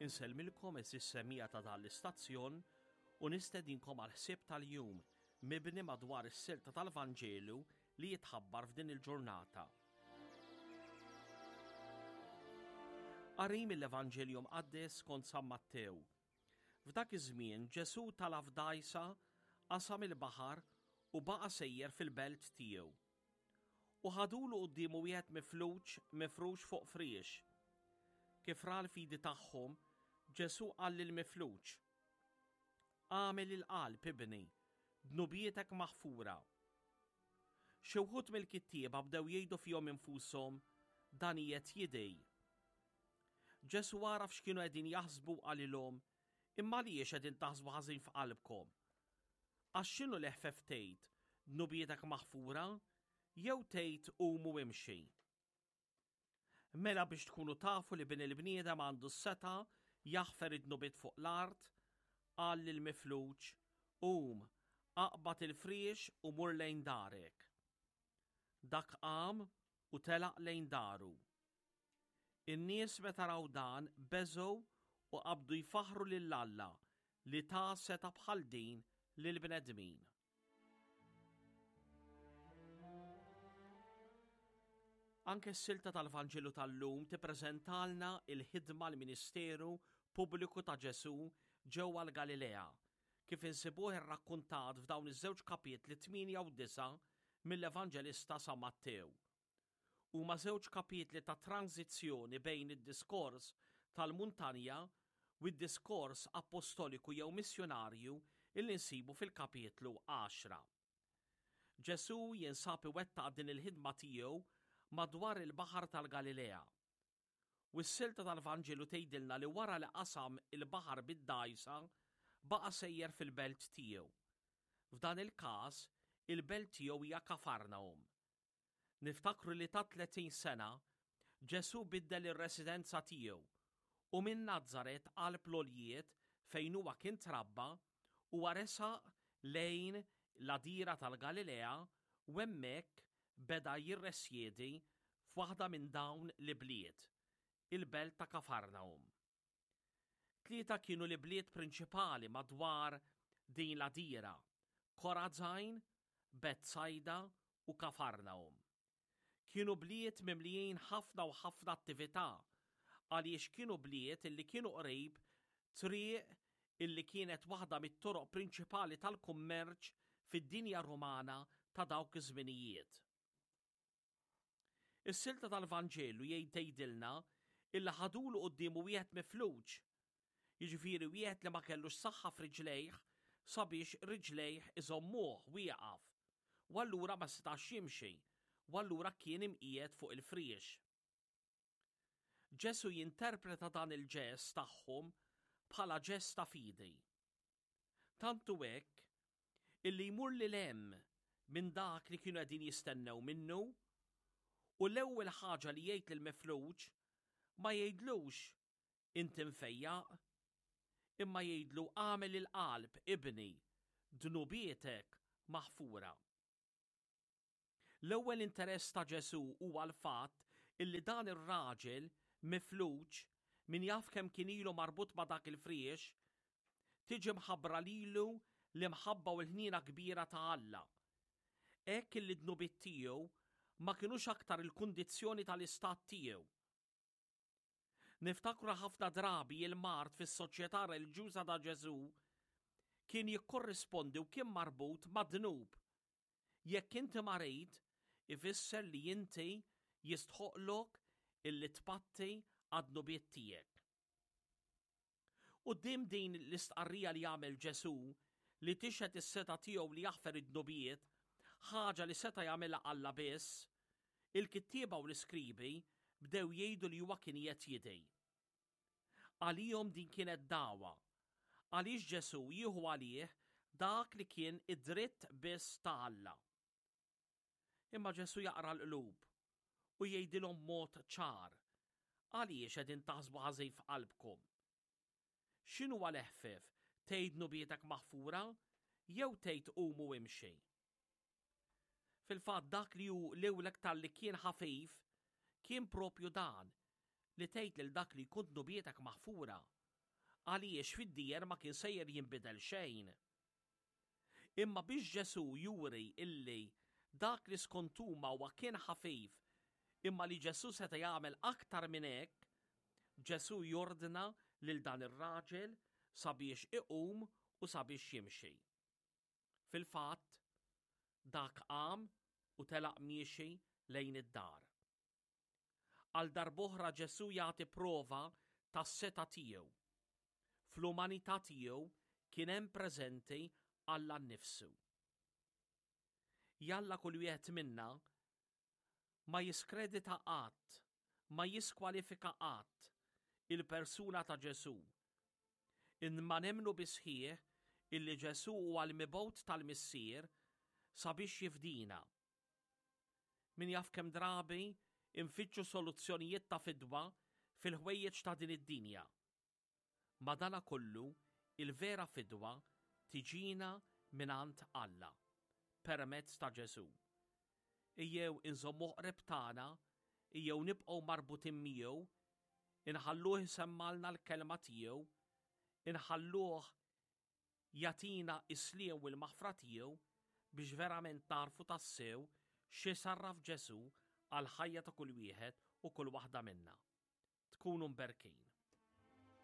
Insellmilkom għeżież semmiegħa ta' dan l-istazzjon u nistedinkom għall-ħsieb tal-jum mibni madwar is-silta tal-Vanġelu li jitħabbar f'din il-ġurnata. Qari mill-Evanġelju Mqaddes skont San Mattew. F'dak iż-żmien Ġesù tala' f'dgħajsa, qasam il-baħar u baqa' sejjer fil-belt tiegħu. U ħadulu quddiemu wieħed mifluġ mifrux fuq friex. Kif ra l-fidi tagħhom, Ġesù qal lill-mifluġ, Agħmel il-qalb, ibni, dnubietek maħfura. Xi wħud mill-kittieba bdew jgħidu fihom infushom, Dan qiegħed jidgħi. Ġesù għaraf x'kienu qegħdin jaħsbu u qalilhom, Imma għaliex qegħdin taħsbu ħażin f'qalbkom? Għax x'inhu l-eħfef tgħid, 'Dnubietek maħfura', jew tgħid, 'Qum u imxi'? Mela biex tkunu tafu li Bin il-bniedem għandu s-setgħa jaħfer id-dnubiet fuq l-art, qal lill-mifluġ, Qum, aqbad il-friex u mur lejn darek. Dak qam u telaq lejn daru. In-nies meta raw dan beżgħu u qabdu jfaħħru lil Alla li ta setgħa bħal din lill-bnedmin. Anke s-silta tal-Vanġelu tal-lum tippreżentalna il-ħidma l-ministeru pubbliku ta' Ġesù ġewwa l-Galilea, kif insibuh irrakkuntat f'dawn iż-żewġ kapitli 8 u 9 mill-Evanġelista San Mattew. Huma żewġ kapitli ta' tranżizzjoni bejn id-diskors tal-muntanja u d-diskors appostoliku jew missjunarju illi nsibu fil-kapitlu għaxra. Ġesù jinsab iwettaq din il-ħidma tiegħu madwar il-Baħar tal-Galilea. U s-silta tal-Vanġelu tgħidilna li wara li qasam il-baħar bid-dgħajsa, baqa' sejjer fil-belt tiegħu. F'dan il-każ, il-belt tiegħu hija Kafarnahum. Niftakru li ta' 30 sena, Ġesù biddel ir-residenza tiegħu u minn Nazaret qalb l-għoljiet fejn huwa kien trabba, huwa resaq lejn l-għadira tal-Galilea u hemmhekk beda jirresjedi f'waħda minn dawn l-ibliet, il-belt ta' Kafarnahum. Tlieta kienu l-ibliet prinċipali madwar din l-għadira, Korazajn, Betsajda u Kafarnahum. Kienu bliet mimlijin ħafna u ħafna attività għaliex kienu bliet illi kienu qrib triq illi kienet waħda mit-toroq prinċipali tal-kummerċ fid-dinja Rumana ta' dawk iż-żminijiet. Is-silta tal-Vanġelu jgħid tgħidilna illi ħadulu quddiemu wieħed mifluġ, jiġifieri wieħed li ma kellux saħħa f'riġlejh sabiex riġlejh iżommuh wieqaf, u allura ma setax jimxi, u allura kien imqiegħed fuq il-friex. Ġesù jinterpreta dan il-ġest tagħhom bħala ġest ta' fidi. Tant hu hekk illi jmur lil hemm minn dak li kienu qegħdin jistennew minnu u l-ewwel ħaġa li jgħid lill-mifluġ ma jgħidlux inti mfejjaq, imma jgħidlu agħmel il-qalb ibni, dnubietek maħfura. L-ewwel interess ta' Ġesù huwa l-fatt illi dan ir-raġel mifluġ, min jaf kemm kien ilu marbut ma' dak il-friex, tiġi mħabbra lilu l-imħabba u l-ħniena kbira ta' Alla. Hekk illi d-dnubiet tiegħu ma kinux aktar il-kundizzjoni tal-istat tiegħu. Niftakru ħafna drabi il-mard fis-soċjetà reliġjuża ta' Ġesù kien jikkorrispondi u kien marbut mad-dnub. Jekk inti marid, ifisser li inti jistħoqlok illi tpatti għad-dnubiet tiegħek. Quddiem din l-istqarrija li għamel Ġesù, li tixhed is-setgħa tiegħu li jaħfer id-dnubiet, ħaġa li seta' jagħmilha Alla biss, il-kittieba u l-iskribi bdew jgħidu li huwa kien qiegħed jidgħi. Għalihom din kienet dagħwa, għaliex Ġesù jieħu għalih dak li kien id-dritt biss ta' Alla. Imma Ġesù jaqra l-qlub u jgħidilhom b'mod ċar, Għaliex qegħdin taħsbu ħażin f'qalbkom? X'inhuwa l-eħfef, tgħid dnubietek maħfura jew tgħid qum u imxi? Fil-fatt dak li hu l-aktar li kien ħafif kien propju dan li tgħid lil dak li jkun dnubietek maħfura. Għaliex fid-dieher ma kien sejjer jinbidel xejn. Imma biex Ġesù juri illi dak li skont huma huwa kien ħafif imma li Ġesù seta' jagħmel aktar minn hekk, Ġesù jordna lil dan ir-raġel sabiex iqum u sabiex jimxi. Fil-fatt, dak qam u telaq miexi lejn id-dar. Għal darb'oħra Ġesù jagħti prova tas-setgħa tiegħu. Fl-umanità tiegħu kien hemm preżenti Alla nnifsu. Jalla kull wieħed minna ma jiskredita qatt, ma jiskwalifika qatt il-persuna ta' Ġesù. Imma nemmnu bis-sħiħ illi Ġesù huwa l-mibgħut tal-Missier sabiex jifdina. Min jaf kemm drabi nfittxu soluzzjonijiet ta' fidwa fil-ħwejjeġ ta' din id-dinja. Madanakollu, il-vera fidwa tiġina mingħand Alla, permezz ta' Ġesù. Ejjew inżommuh qrib tagħna, ejjew nibqgħu marbutin miegħu, inħalluh isemmgħalna l-kelma tiegħu, inħalluh jagħtina s-sliem u l-maħfra tiegħu biex verament nagħrfu tassew x'isarraf Ġesù għall-ħajja ta' kull wieħed u kull waħda minna. Tkunu mberkin.